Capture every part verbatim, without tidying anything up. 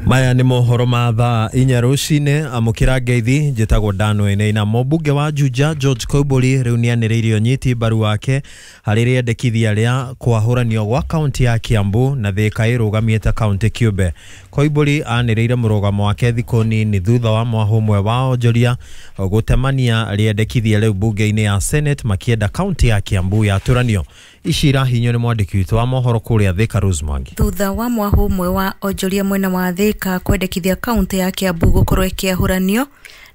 Maya nĩ mohoro ma thaa inya rũcinĩ. Amũkĩra ngeithi, njĩtagwo Dan Wainaina. Mũmbunge wa Juja George Koimbũri rĩu nĩanĩrĩire ũnyiti mbaru wake harĩ rĩendekithia rĩa kwahũranio gwa kaunti ya Kiambu na Thika ĩrũgamĩte kaunti kĩũmbe. Koimbũri anĩrĩire mũrũgamo wake thikũ nini thutha wa mwahũ ũmwe wa onjoria gũtemania rĩendekithia rĩu mbunge-inĩ ya Senate makĩenda kaunti ya Kiambu yatũranio. Ici irahinyio nĩ mwandĩki witũ wa mohoro kũrĩa Thika, Rose Mwangi. Thutha wa mwahũ ũmwe wa onjoria mwena wa Thika kwendekithia kaunti ya Kiambu gũkorwo ĩkĩahũranio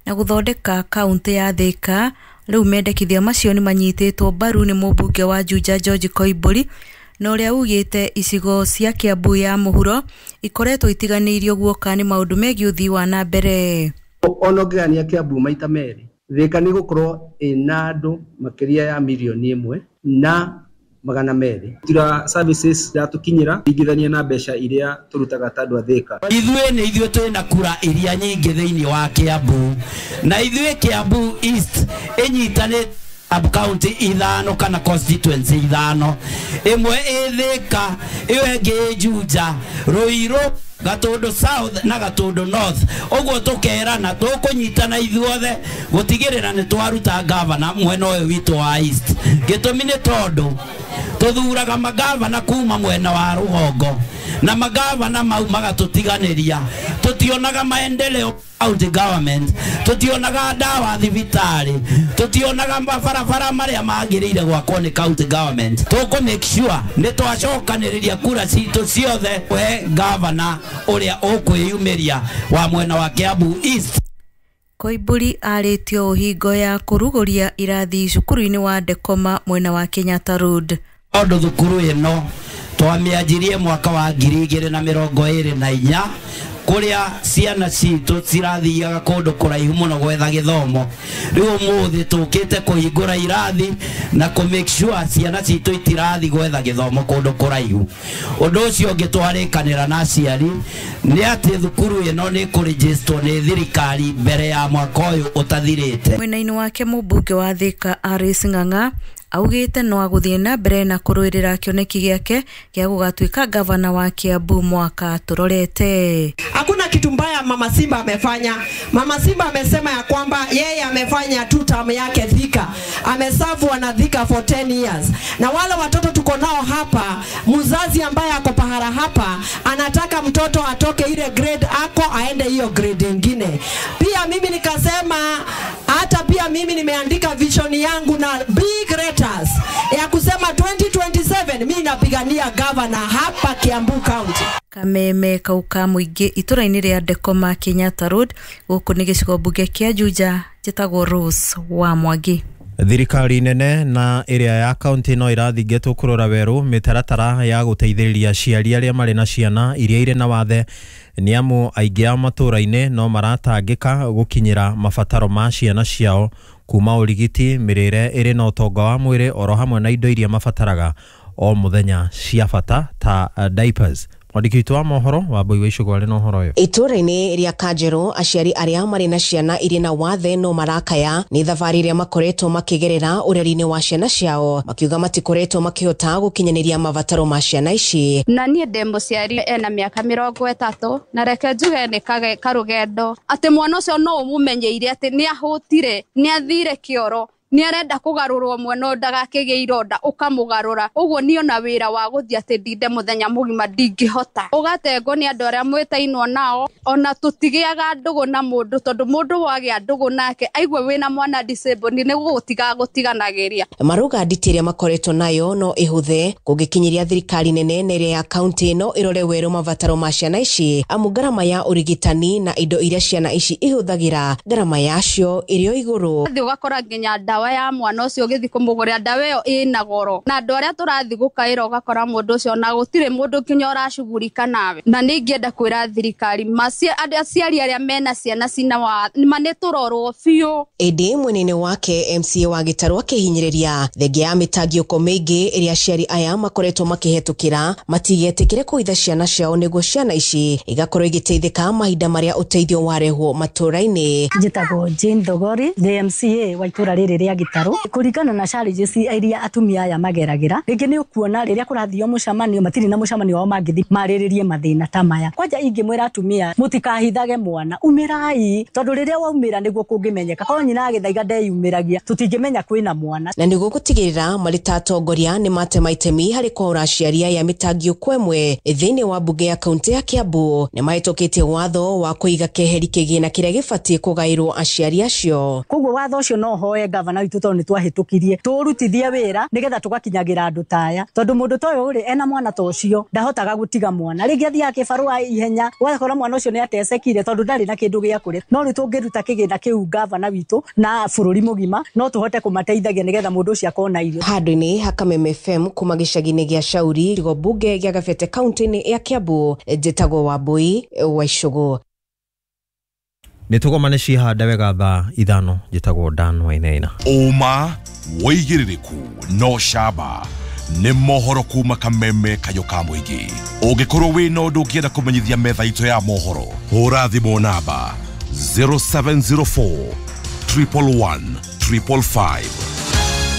na gũthondeka kaunti ya Thika, rĩu mendekithia macio nĩ manyitĩtwo mbaru nĩ mũmbunge wa Juja George Koimbũri, na ũrĩa ugĩte icigo cia Kiambu ya mũhuro ikoretwo itiganĩirio guoka nĩ maũndũ megiĩ ũthii wa na mbere. Ona ũngĩgania Kiambu maita merĩ, Thika nĩ gũkorwo ĩna andũ makĩria ya mirioni ĩmwe na magana merĩ. Tira services iratukinyira ingithania na mbeca iria turutaga ta andũ a Thika. Ithuĩ nĩ ithuĩ twĩna kura iria nyingĩ thĩinĩ wa Kiambu, na ithuĩ Kiambu East ĩnyitanĩte sub county ithano kana constituency ithano, ĩmwe ĩ Thika, ĩyo ĩngĩ ĩ Juja, Ruiru, Gatundu South na Gatundu North. Ũguo tũkerana tũkũnyitana ithuothe gũtigĩrĩra nĩ twaruta gavana mwena ũyũ witũ wa East. Gĩtũmi nĩ tondũ tũthuraga magavana kuma mwena wa rũgongo na magavana mau magatũtiganĩria, tũtionaga maendeleo county government, tũtionaga ndawa thibitarĩ, tũtionaga mabarabara marĩa magĩrĩire gwakwo nĩ county government. Tũkũ make sure nĩ twacokanĩrĩria kura citũ ciothe kũhe gavana ũrĩa ũkwĩyumĩria wa mwena wa Kiambu East. Koimbũri arĩtio ũhingo ya kũrugũria irathi cukuru-inĩ wa Ndekoma mwena wa Kenyatta Road. Tondũ thukuru ĩno twamĩanjirie mwaka wa ngiri igĩrĩ na mĩrongo ĩrĩ na inya, kũrĩa ciana citũ cirathiaga kũndũ kũraihu mũno gwetha gĩthomo. Rĩu ũmũthĩ tũkĩte kũhingũra irathi na kũ make sure ciana citũ itirathi gwetha gĩthomo kũndũ kũraihu. Ũndũ ũcio ũngĩ twarĩkanĩra na aciari nĩ atĩ thukuru ĩno nĩ kũrĩgĩstwo nĩ thirikari mbere ya mwaka ũyũ ũtathirĩte. Mwena-inĩ wake mũmbunge wa Thika Alice Ng'ang'a augĩte no agũthiĩ na mbere na kũrũĩrĩra kĩoneki gĩake gĩa gũgatuĩka gavana wa Kiambu mwaka tũrorete. Hakuna kitu mbaya Mama Simba amefanya. Mama Simba amesema ya kwamba yeye amefanya two term yake Thika. Ameserve wana Thika for ten years. Na wale watoto tuko nao hapa, mzazi ambaye ako pahala hapa anataka mtoto atoke ile grade ako aende hiyo grade nyingine. Pia mimi nikasema hata pia mimi nimeandika vision yangu na big letters ya kusema twenty twenty-seven mimi napigania governor hapa Kiambu County. Kameme kauka mũingĩ itũra-inĩ rĩa Ndekoma Kenyatta Road, gũkũ nĩ gĩcigo mbunge kĩa Juja, njĩtagwo Rose wa Mwangi. Thirikari nene na ĩrĩa ya kaunti no ĩrathingatwo kũrora werũ mĩtaratara ya gũteithĩrĩria aciari arĩa marĩ na ciana iria irĩ na wathe, nĩ amu aingĩ a matũra-inĩ no maratangĩka gũkinyĩra mabataro ma ciana ciao kuma ũrigiti, mĩrĩre ĩrĩ na ũtonga wa mwĩrĩ oro hamwe na indo iria mabataraga o mũthenya cia bata ta diapers. Mwandĩki witũ wa mohoro wa Mbui wa Icũgũ arĩ na ũhoro ũyũ. Itũra-inĩ rĩa Kanjerũ aciari arĩa marĩ na ciana irĩ na wathe no marakaya nĩ thabarĩ ĩrĩa makoretwo makĩgerera ũreri-inĩ wa ciana ciao, makiuga matikoretwo makĩhota gũkinyanĩria mabataro ma ciana ici. Na niĩ ndĩ mũciari ena mĩaka mĩrongo ĩtatũ, na reke njuge nĩ karũgendo atĩ mwana ũcio no ũmũmenyeire atĩ nĩ ahũtire, nĩ athire kĩoro, nĩ arenda kũgarũrwo mwena ũyũ ndagakĩgĩe ironda, ũkamũgarũra. Ũguo niĩ ona wĩra wa gũthiĩ atĩ ndinde mũthenya mũgima ndingĩhota. Ũgatengwo nĩ andũ arĩa mwĩtainwo nao, ona tũtigĩaga ndũgũ na mũndũ, tondũ mũndũ wagĩa ndũgũ nake aigue wĩna mwana disabled nĩ gũgũtiga gũtiganagĩria. Maruga nditi ĩrĩa makoretwo nayo no ĩhũthe kũngĩkinyiria thirikari nene na ĩrĩa ya kaunti no ĩrore werũ mabataro ma ciana ici, amu ngarama ya ũrigitani na indo iria ciana ici ihũthagĩra ngarama yacio ĩrĩ o igũrũ. Ũgathiĩ ũgakora nginya ndawa ya mwana ũcio ũgĩthiĩ kũmũgũrĩra ndawa ĩyo ĩna goro, na andũ arĩa tũrathiĩ gũkaĩra ũgakora mũndũ ũcio ona gũtirĩ mũndũ nginya ũracugurika nawe. Na nĩ ingĩenda kwĩra thirikari aciari arĩa mena ciana cina wathe ma nĩ tũrorwo biũ. Ĩndĩ mwena-inĩ wake M C A wa Gĩtarũ akĩhinyĩrĩria thengia ya mĩtangĩko mĩingĩ ĩrĩa aciari aya makoretwo makĩhetũkĩra matigetĩkĩre kũhitha ciana ciao nĩguo ciana ici igakorwo igĩteithĩka mahinda marĩa ũteithio warehwo matũra-inĩ. Njĩtagwo Jane Thogori, the M C A wa itũra rĩrĩ rĩa kĩa Gĩtarũ. Kũringana na challenges iria atumia aya mageragĩra, rĩngĩ nĩ ũkuona rĩrĩa kũrathio mũcemanio matirĩ na mũcemanio wao mangĩthiĩ marĩrĩrie mathĩna ta maya. Kwanja ingĩmwĩra atumia mũtikahithage mwana, umĩrai, tondũ rĩrĩa waumĩra nĩguo kũngĩmenyeka. Korwo nyina agĩthaiga ndeyumĩragia, tũtingĩmenya kwĩna mwana. Na nĩguo gũtigĩrĩra marĩ ta atongoria nĩ matema itemi harĩ kwaũra aciari aya mĩtangio kwa ĩmwe thĩinĩ wa mbunge ya kaunti ya Kiambu, nĩ mahĩtũkĩtie watho wa kũiga keheri kĩgĩna kĩrĩa gĩbatiĩ kũgaĩrwo aciari acio. Koguo watho ũcio no hoe gavana witũ tondũ nĩ twahĩtũkirie tũrutithie wĩra nĩgetha tũgakinyagĩra andũ ta aya, tondũ mũndũ ta ũyũ rĩ ena mwana ta ũcio ndahotaga gũtiga mwana, rĩngĩ athiaga kĩbarũa ihenya ũgakora mwana ũcio nĩ atecekire tondũ ndarĩ na kĩndũ gĩa kũrĩa. No rĩu tũngĩruta kĩgĩna kĩu gavana witũ na bũrũri mũgima no tũhote kũmateithagia nĩgetha mũndũ ũcio akona irio. Handũ-inĩ ha Kameme F M kuma gĩcagi-inĩ gĩa Shauri gĩcigo mbunge gĩa Gabete kaunti-inĩ ya Kiambu, njĩtagwo Wambui wa Icũgũ. Nĩ tũgomane cihande wega thaa ithano, njĩtagwo Dan Wainaina. Ũma wĩigĩrĩrĩku no camba nĩ mohoro kuma Kameme kayũ ka mũingĩ. Ũngĩkorwo wĩna ũndũ ũngĩenda kũmenyithia metha itũ ya mohoro, hũra thimũ namba zero seven zero four triple one triple five.